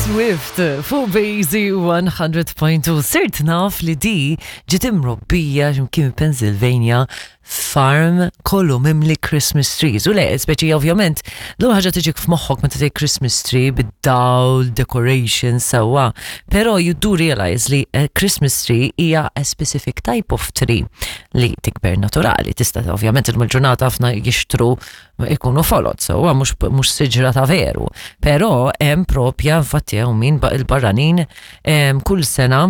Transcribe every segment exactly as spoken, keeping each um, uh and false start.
Swift fuq Bazy one hundred point two. Sirt naf li di ġiet imrobbija x'imkien Pennsylvania, farm kollu mimli Christmas trees. U le, speċi ovvjament, l ħaġa tiġik f'moħħok meta tgħid Christmas tree bid-dawl, decoration, sewwa. Però you do realize li a Christmas tree hija a specific type of tree li tikber naturali. Tista' ovvjament il-ġurnata ħafna jixtru ikunu folot, sewwa, mhux mhux siġra ta' veru. Però hemm propja, infatti hawn min ba- il-barranin em, kull sena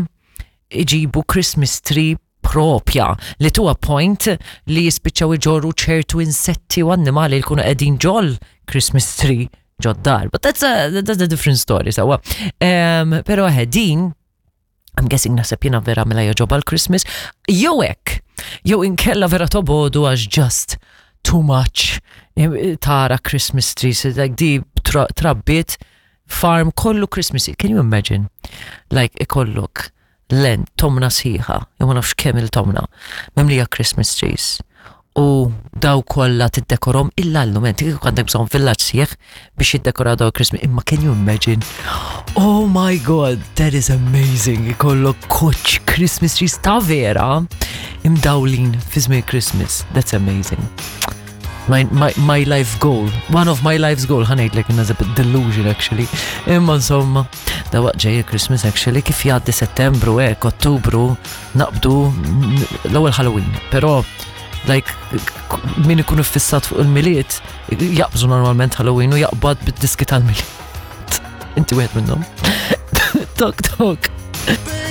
iġibu Christmas tree propja li to a point li jispiċċaw iġorru ċertu insetti u annimali li jkunu qegħdin ġol Christmas tree ġod-dar. But that's a, that's a different story, sewwa. Um, pero din, I'm guessing, naħseb jiena vera mela jogħġobha l-Christmas, jew hekk, jew inkella vera tobogħdu għax just too much eh, tara Christmas trees, like di tra- trabbiet farm kollu Christmas. Can you imagine? Like ikollok len tomna sħiħa, jew ma nafx kemm il-tomna, mimlija Christmas trees. U daw kollha tiddekorhom illa llum, inti kieku għandek bżonn villaġġ sħiħ biex jiddekoraw daw Christmas, imma can you imagine? Oh my God, that is amazing. Ikollok koċ Christmas trees ta' vera imdawlin fi żmien Christmas. That's amazing. My, my, my life goal, one of my life's goal, ħa ngħidlek, is a bit delusion actually. Imma insomma, da waqt ġej Christmas actually, kif jgħaddi Settembru, ek, Ottubru, naqbdu l-ewwel Halloween. Però like min ikun fissat fuq il-Milied, jaqbżu normalment Halloween u jaqbad bid-diski tal-Milied. Inti wieħed minnhom. Tok tok.